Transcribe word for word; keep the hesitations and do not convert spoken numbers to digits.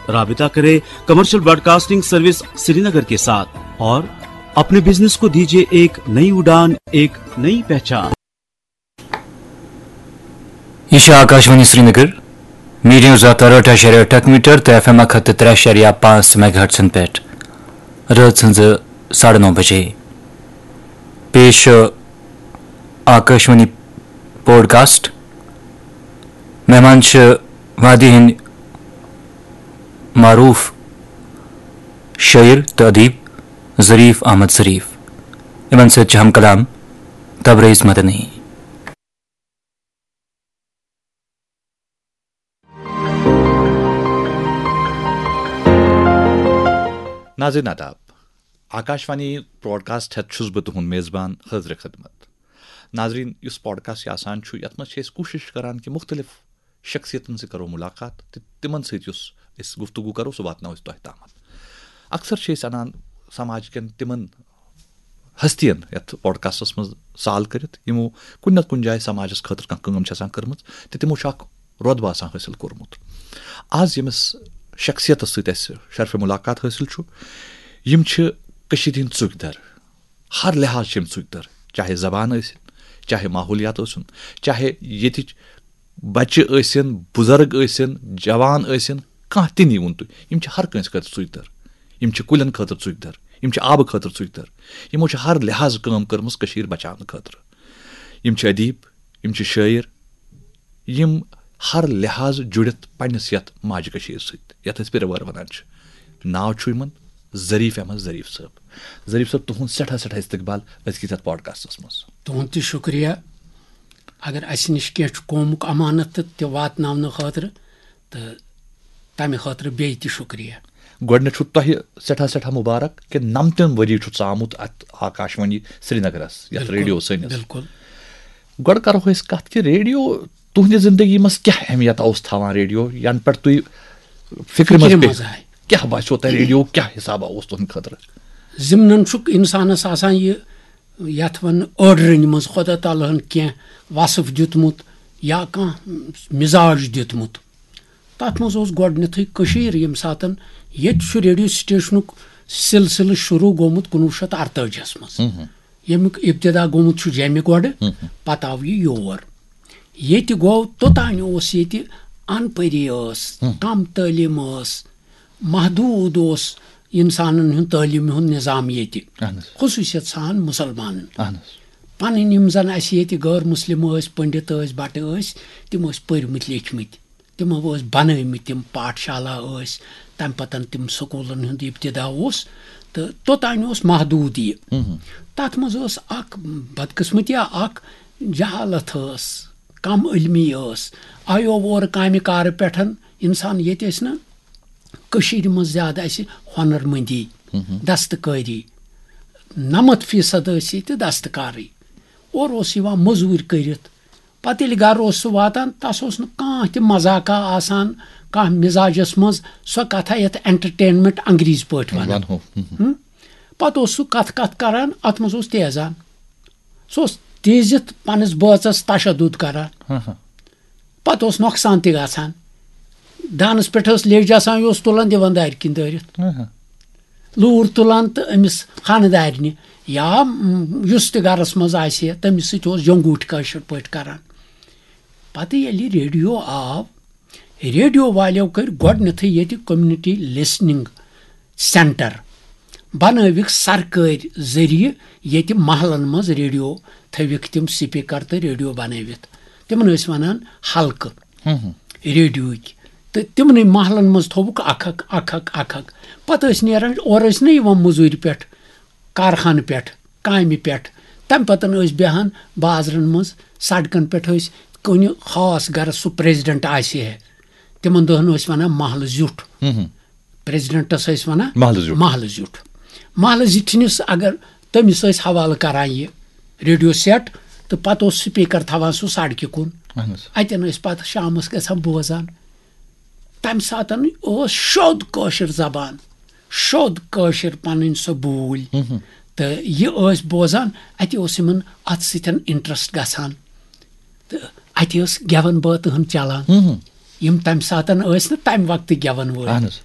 राबता करें commercial broadcasting service Srinagar के साथ और अपने बिजनेस को दीजिए एक नई उड़ान, एक नई पहचान। یہ چھِ آکاشوانی سرینگر، میٖڈیم زٕ ہَتھ تہٕ ٲٹھ اَشارِ ٲٹھ اکھ میٖٹر تہٕ ایف ایم اکھ ہَتھ تہٕ ترٛےٚ اَشارِ پانٛژھ میگا ہرٹزن پٮ۪ٹھ۔ رٲژ ہٕنٛزٕ ساڑٕ نَو بجے۔ پیش چھُ آکاشوانی پوڈکاسٹ۔ مہمان چھِ وادی ہٕنٛدۍ معروٗف شٲعر تہٕ ادیب ظریف احمد ظریف۔ یِمن سۭتۍ چھِ ہم کلام تبریز مدنی۔ ناظرین آداب، آکاشوانی پوڈکاسٹ ہیتھ چھُس بہٕ تُہُنٛد میزبان حٲضرِ خدمت۔ ناظرین، یُس پوڈکاسٹ یہِ آسان چھُ، یتھ منٛز چھِ أسۍ کوٗشش کران کہِ مُختٔلِف شخصیتن سۭتۍ کرو مُلاقات تہٕ تِمن سۭتۍ یُس أسۍ گفتگو کرو، سُہ واتناوو أسۍ تۄہہِ تامتھ۔ اکثر چھِ أسۍ انان سماج کٮ۪ن تِمن ہستین یتھ پوڈکاسٹس منٛز سال کٔرِتھ، یِمو کُنہِ نتہٕ کُنہِ جایہِ سماجس خٲطرٕ کانٛہہ کٲم چھِ آسان کٔرمٕژ تہٕ تِمو چھُ اکھ رۄتبہٕ آسان حٲصِل کوٚرمُت۔ آز ییٚمِس شخصیتس سۭتۍ اَسہِ شرفِ مُلاقات حٲصِل چھُ، یِم چھِ کٔشیٖرِ ہٕنٛدۍ ژُکۍ در۔ ہر لحاظ چھِ یِم ژُکۍ در، چاہے زبان ٲسِن، چاہے ماحولیات ٲسِن، چاہے ییٚتِچ بچہِ ٲسِن، بُزرگ ٲسِن، جوان ٲسِن، کانٛہہ تہِ نِیٖوُن تُہۍ، یِم چھِ ہر کٲنٛسہِ خٲطرٕ ژُکۍ در۔ یِم چھِ کُلٮ۪ن خٲطرٕ ژُکۍ در، یِم چھِ آبہٕ خٲطرٕ ژُکۍ در۔ یِمو چھِ ہر لحاظہٕ کٲم کٔرمٕژ کٔشیٖر بچاونہٕ خٲطرٕ۔ یِم چھِ ادیٖب، یِم چھِ شٲعر، یِم ہر لحاظ جُڑِتھ پننِس یتھ ماجہِ کٔشیٖرِ سۭتۍ، یتھ أسۍ پِرٕ وٲر ونان چھِ۔ ناو چھُ یِمن ظریف احمد ظریف صٲب۔ ظریف صٲب، تُہُنٛد سٮ۪ٹھاہ سٮ۪ٹھاہ استقبال أزکِس یتھ پوڈکاسٹس منٛز۔ تُہُنٛد تہِ شُکریہ۔ اگر اسہِ نِش کینٛہہ چھُ قومُک امانت تہٕ تہِ واتناونہٕ خٲطرٕ، تہٕ تمہِ خٲطرٕ بیٚیہِ تہِ شُکریہ۔ گۄڈٕنیتھ چھُ تۄہہِ سٮ۪ٹھاہ سٮ۪ٹھاہ مُبارک کہِ نَمتَن ؤری چھُ ژامُت اتھ آکاشوانی سرینگرس، یتھ بِلکُل، ریڈیو سٲنِس۔ بِلکُل۔ گۄڈٕ کرو أسۍ کتھ کہِ ریڈیو تُہنٛدِ زندگی منٛز کیٛاہ اہمیت اوس تھاوان ریڈیو، ینہٕ پٮ۪ٹھ تُہۍ فکرِ منٛز فکرِ پیٚیہِ؟ منٛز آے۔ کیٛاہ باسیو تۄہہِ ریڈیو کیٛاہ حسابہ اوس تُہنٛدِ خٲطرٕ؟ ضمنن چھُ انسانس آسان یہِ، یتھ ونہٕ، أڑرٕنۍ منٛز خۄدا تعالیٰ ہن کینٛہہ وصف دیُتمُت یا کانٛہہ مزاج دیُتمُت۔ تتھ منٛز اوس گۄڈٕنیتھٕے کٔشیٖر، ییٚمہِ ساتن ییٚتہِ چھُ ریڈیو سٹیشنُک سلسلہٕ شروٗع گوٚمُت کُنوُہ شیٚتھ اَرتٲجِہس منٛز۔ ییٚمیُک ابتدا گوٚمُت چھُ جیٚمہِ گۄڈٕ، پتہٕ آو یہِ یور۔ ییٚتہِ گوٚو توٚتانۍ اوس ییٚتہِ ان پٔری ٲس، کم تعلیٖم ٲس، محدوٗد اوس انسانن ہُنٛد تعلیٖم ہُنٛد نظام ییٚتہِ، اہن حظ۔ خصوٗصیت سان مُسلمانن۔ اہن حظ۔ پنٕنۍ یِم زن اسہِ ییٚتہِ غٲر مسلم ٲسۍ، پنڈت ٲسۍ، بٹہٕ ٲسۍ، تِم ٲسۍ پٔرمٕتۍ لیکھمٕتۍ۔ تِمو ٲسۍ بنٲومٕتۍ تِم پاٹھشالا ٲسۍ، تَمہِ پَتَن تِم سکوٗلَن ہُنٛد ابتدا اوس، تہٕ توٚتانۍ اوس محدوٗد یہِ۔ تَتھ منٛز ٲس اَکھ بدقٕسمتی، اَکھ جہالت ٲس، کم علمی ٲس۔ آیو اورٕ کامہِ کارٕ پٮ۪ٹھ اِنسان، ییٚتہِ ٲسۍ نہٕ کٔشیٖرِ منٛز زیادٕ اَسہِ ہۄنَر مٔندی، دستکٲری، نَمَتھ فیٖصد ٲسۍ ییٚتہِ دستکارٕے۔ اورٕ اوس یِوان مٔزوٗرۍ کٔرِتھ، پتہٕ ییٚلہِ گرٕ اوس سُہ واتان، تس اوس نہٕ کانٛہہ تہِ مذاقہ آسان، کانٛہہ مزاجس منٛز سۄ کتھا یتھ entertainment انگریزی پٲٹھۍ ونان۔ ونہو۔ ہم۔ پتہٕ اوس سُہ کتھ کتھ کران، اتھ منٛز اوس تیزان۔ سُہ اوس تیزِتھ پننِس بٲژس تشدد کران۔ ہاں، ہاں۔ پتہٕ اوس نۄقصان تہِ گژھان۔ دانس پٮ۪ٹھ ٲس لیٚج آسان، یہِ اوس تُلان دِوان دارِ کِنۍ دٲرِتھ۔ ہاں، ہاں۔ لوٗر تُلان تہٕ أمِس خانہٕ دارنہِ یا، م، یُس تہِ گرس منٛز آسہِ ہے، تٔمِس سۭتۍ اوس جنگوٗٹھۍ کٲشِر پٲٹھۍ کران۔ پتہٕ ییٚلہِ ریڈیو آو، ریڈیو والیو کٔرۍ گۄڈٕنیتھٕے ییٚتہِ community listening centre بنٲوِکھ سرکٲرۍ ذٔریعہٕ، ییٚتہِ محلن منٛز ریڈیو تھٲوِکھ تِم speaker تہٕ ریڈیو بنٲوِتھ۔ تِمن ٲسۍ ونان حلقہٕ ریڈیوٕکۍ۔ تہٕ تِمنٕے محلن منٛز تھوٚوُکھ اکھ اکھ، اکھ اکھ، اکھ اکھ۔ پتہٕ ٲسۍ نیران، اورٕ ٲسۍ نہٕ یِوان مٔزوٗرِ پٮ۪ٹھ، کارخانہٕ پٮ۪ٹھ، کامہِ پٮ۪ٹھ۔ تَمہِ پتہٕ ٲسۍ بیٚہان بازرن منٛز، سڑکن پٮ۪ٹھ ٲسۍ کُنہِ خاص گرس سُہ president آسہِ ہے، تِمن دۄہن ٲسۍ ونان محلہٕ زیُٹھ۔ Presidentس ٲسۍ ونان محلہٕ زیُٹھ۔ محلہٕ زیُٹھ۔ محلہٕ زِٹھنِس اگر تٔمِس ٲسۍ حوالہٕ کران یہِ ریڈیو set، تہٕ پتہٕ اوس speaker تھاوان سُہ سڑکہِ کُن۔ اہن حظ۔ اتٮ۪ن ٲسۍ پتہٕ شامس گژھان بوزان۔ تمہِ ساتن اوس شوٚد کٲشِر زبان، شوٚد کٲشِر پنٕنۍ سۄ بوٗلۍ۔ تہٕ یہِ ٲسۍ بوزان، اتہِ اوس یِمن اتھ سۭتۍ interest گژھان۔ تہٕ اتہِ ٲس گٮ۪ون بٲتہٕ ہن چلان۔ یِم تمہِ ساتن ٲسۍ نہٕ تمہِ وقتہٕ گٮ۪ون وٲلۍ۔ اہن حظ۔